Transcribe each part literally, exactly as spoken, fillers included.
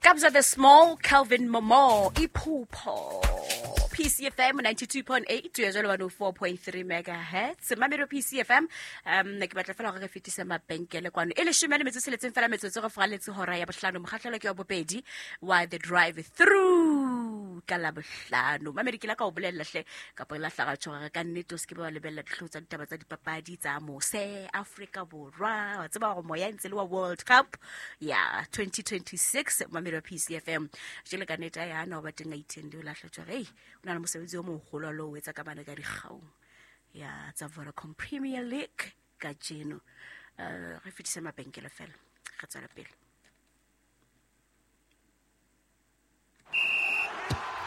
Kabza the Small, Kelvin Momo, Iphupho. P C F M ninety-two point eight to jalo one oh four point three megahertz. Mamelo P C F M. Um ne ke batla fela gore re fetise mabenkele kwano. E leshome le metso tsheletseng fela metsotso go fraletse hora ya bohlano, mokgahlelo ke wa bobedi wa The Drive Through ka la bohlano. Mamedi, ke la ka o bolella hle kapa la hlaga tshwara ka nnete, o se ke ba wa lebella dihlooho tsa ditaba tsa dipapadi tsa mose Afrika Borwa. Wa tseba gore moya e ntse le wa World Cup ya twenty twenty-six. Mamelo P C F M, jele ka nnete ya na o ba teng a itheng le o lahla tshwara, ei, o na le mosebetsi o moholo lo o etsa ka bana ka dikgaung ya tsa Vodacom Premier League kajeno. uh, re fetise mabenkele fela, re tswela pele.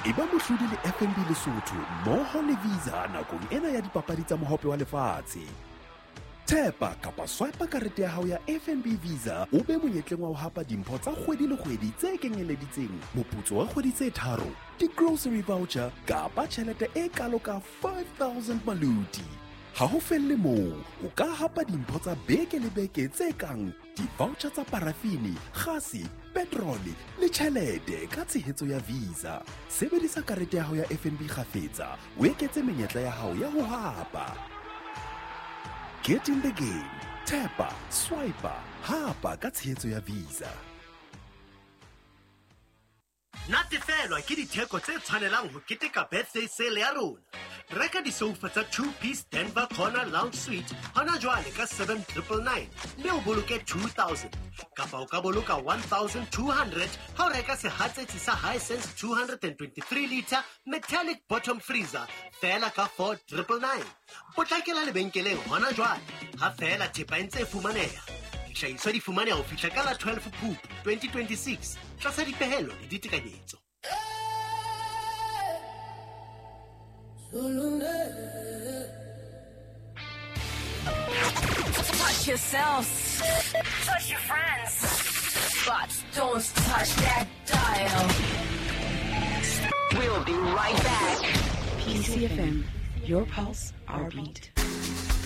E ba mohlodi le F N B Lesotho mmoho le Visa nakong ena ya dipapadi tsa Mohope wa Lefatshe. Thepa kapa swipe karete ya hao ya F N B Visa, o be monyetleng wa ho hapa dimpho tsa kgwedi le kgwedi tse kenyeleditseng moputso wa kgwedi tse tharo, di-grocery voucher kapa tjhelete e kalo ka five thousand maluti. Ha ho felle moo, o ka hapa dimpho tsa beke le beke tse kang di-voucher tsa parafini, gase, petrole le tjhelete ka tshehetso ya Visa. Sebedisa karete ya hao ya F N B kgafetsa, o eketse menyetla ya hao ya ho hapa. Get in the game. Tapa, swipe, hapa ka tshehetso ya Visa. Natefelwa ke ditheko tse tshwanelang ho keteka birthday sale ya rona. Reka disoufa tsa two piece Denver Corner Lounge Suite hona jwale ka seven nine nine nine mme o boloke two thousand, kapa o ka boloka one thousand two hundred ha o reka sehatsetsi sa Hisense two hundred twenty-three litre metallic bottom freezer feela ka four nine nine nine. Potlakela lebenkeleng hona jwale ha feela thepa e ntse e fumaneha. Dihlahiswa di fumaneha ho fihla ka la twelve Phupu twenty twenty-six tlasa dipehelo le ditekanyetso. Touch yourselves. Touch your friends. But don't touch that dial. We'll be right back. P C F M, your pulse, our beat.